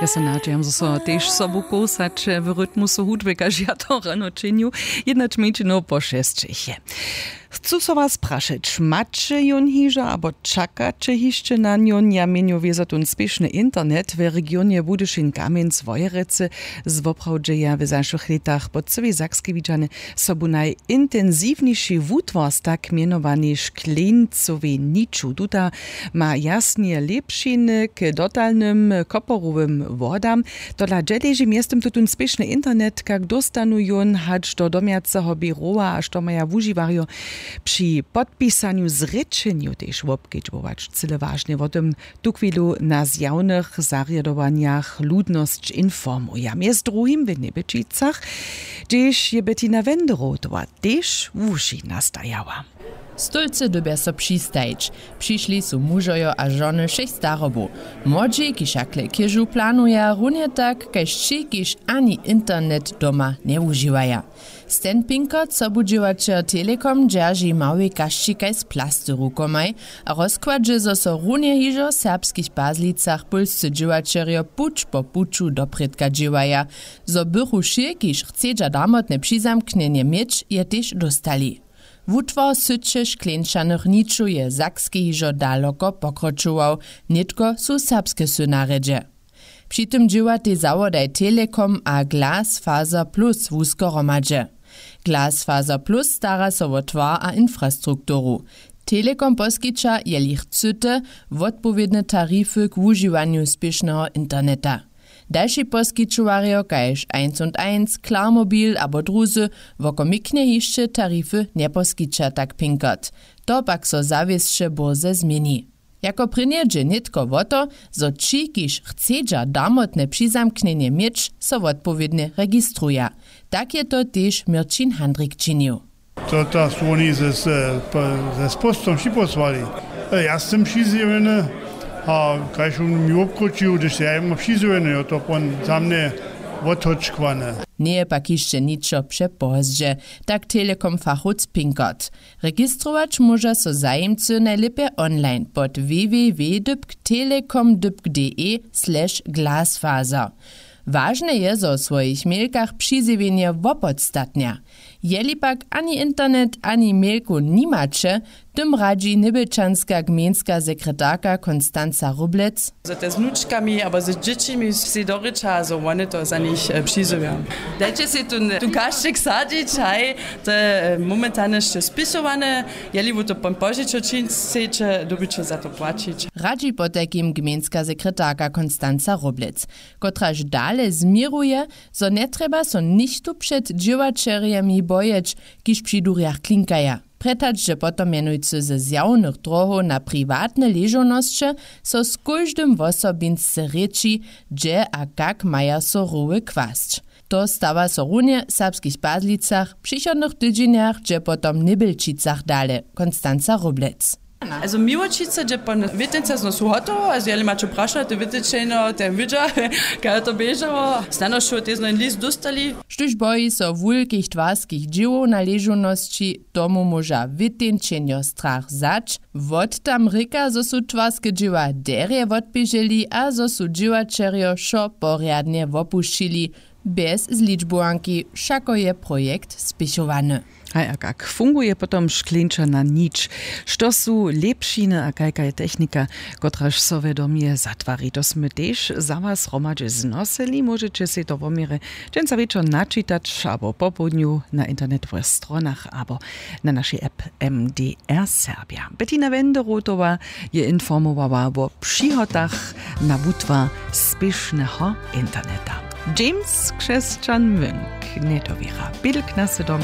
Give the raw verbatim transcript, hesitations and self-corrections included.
Ja so nadźijam, zo so tež sobu kołsaće w rytmusu hudby, kaž ja to rano činju. Jednać mjeńšinow po šesćich je. Chcu so was prašeć, maće jón hižo abo čakaće hišće na njón? Ja měnju wězo tón spěšny internet w regionje Budyšin-Kamjenc-Wojerecy. Zwoprawdźe ja w zašłych lětach po cyłej Sakskej widźany sobu najintensiwniši wutwar z tak mjenowanej škleńcowej niću. Tuta ma jasnje lěpšiny k dotalnym koporowym wodam. Tola dźe leži mjeztym tutón spěšny internet, kak dóstanu jón hač do domjaceho běrowa a što maja wužiwarjo při podpisanju zrěčenju tež wobkedźbować? Cyle wažne wo tym tuchwilu na zjawnych zarjadowanjach ludnosć informuja, mjez druhim w Njebjećicach, hdźež je Bettina Wenderotowa tež wuši nastajała. Stólcy dyrbja so přistajić. Přišli su mužojo a žony wšěch starobow. Młodźi, kiž hakle chěžu planuja, runje tak kaž ći, kiž ani internet doma njewužiwaja. Stan Pinkert, sobudźěłaćer Telekom, dźerži małej kašći kaž z plasty rukomaj a rozkładźe, zo so runje hižo w Serbskich Pazlicach pólscy dźěłaćerjo puć po puću doprědka dźěłaja, zo bychu wšě, kiž chcedźa damotne přizamknjenje měć, je tež dóstali. Wutwar syće škleńčanych nićow je w Sakskej hižo daloko pokročował, nětko su serbske wsy na rjedźe. Při tym dźěłatej zawodaj Telekom a Glasfaser Plus wusko hromadźe. Glasfaser Plus stara so wo twar a infrastrukturu. Telekom poskića, jeli chcyte, wotpowědne tarify k wužiwanju spěšneho interneta. Dalši poskićowarjo kaž eins und eins, Klarmobil abo druzy wokomiknje hišće tarify njeposkića, tak Pinkert. To pak so zawěsće bórze změni. Jako prěnje dźe nětko wo to, zo ći, kiž chcedźa damotne přizamknjenje měć, so wotpowědnje registruja. Tak je to tež Měrćin Handrik činił. To ta su woni ze, z, p-, ze spostom připósłali. E, ja sym přizjewjeny a kaž wón mi wobkročił, hdyž ja jemu přizjewjeny, jo, to pon za mnje wothočkłane. Njeje pak hišće ničo přepozdźe, tak Telekom fachowc Pinkert. Registrować móža so zajimcy najlěpje online pod w w w dypk telekom dypk d e slash glasfaser. Wažne je, zo w swojich mělkach přizjewjenje wopodstatnja. Jeli pak ani internet, ani mělku nimaće, tym radźi njebjelčanska gmejnska sekretarka Konstanza Róblec. Zo te z wnučkami abo z dźěćimi sej dorěča, zo wone to za nich, e, přizjewja. Dajće sej tón, tón kašćik sadźić, haj, to je, e, momentalnje hišće spisowane. Jeli wy to pon požičo čińć sejće, dyrbiće za to płaćić. Radźi potajkim gmejnska sekretarka Konstanza Róblec, kotraž dale změruje, zo njetrjeba so nichtó před dźěłaćerjemi bojeć, kiž při durjach klinkaja. Prjetačdźe potom mjenujcy ze zjawnych drohow na priwatne ležownosće, so z kóždym wosobinsce rěči, hdźe a kak maja so roły kwasć. To stawa so runje w Serbskich Pazlicach, w přichodnych tydźenjach dźe potom w Njebjelčicach dale. Konstanza Róblec. Also Miłoćica dźe pon wětence znosu hotowo, also jeli maće prašo, te wětečejno te wědźa, kaj to běžało. Snano wšo tež znow list dóstali. Štóž boji so wulkich twarskich dźěłow na ležownosći, tomu móža wětjenčenjo strach wzać. Wot tam rěka, zo su twarske dźěła derje wotběželi a zo su dźěłaćerjo wšo porjadnje wopušćili. Bjez zličbowanki wšako je projekt spěchowany. Haj, a kak funguje potom škleńčana nić? Što su lěpšiny a kajka je technika, kotraž so we domje zatwari? To smy tež za was hromadźe znosyli. Móžeće sej to wo měrje dźensa wječor načitać abo popołdnju na internetowych stronach abo na našej app M D R Serbia. Bettina Wenderotowa je informowała wo přihotach na wutwar spěšneho interneta. James Křesćan Münk, Njedowěra, Bilk na sydom.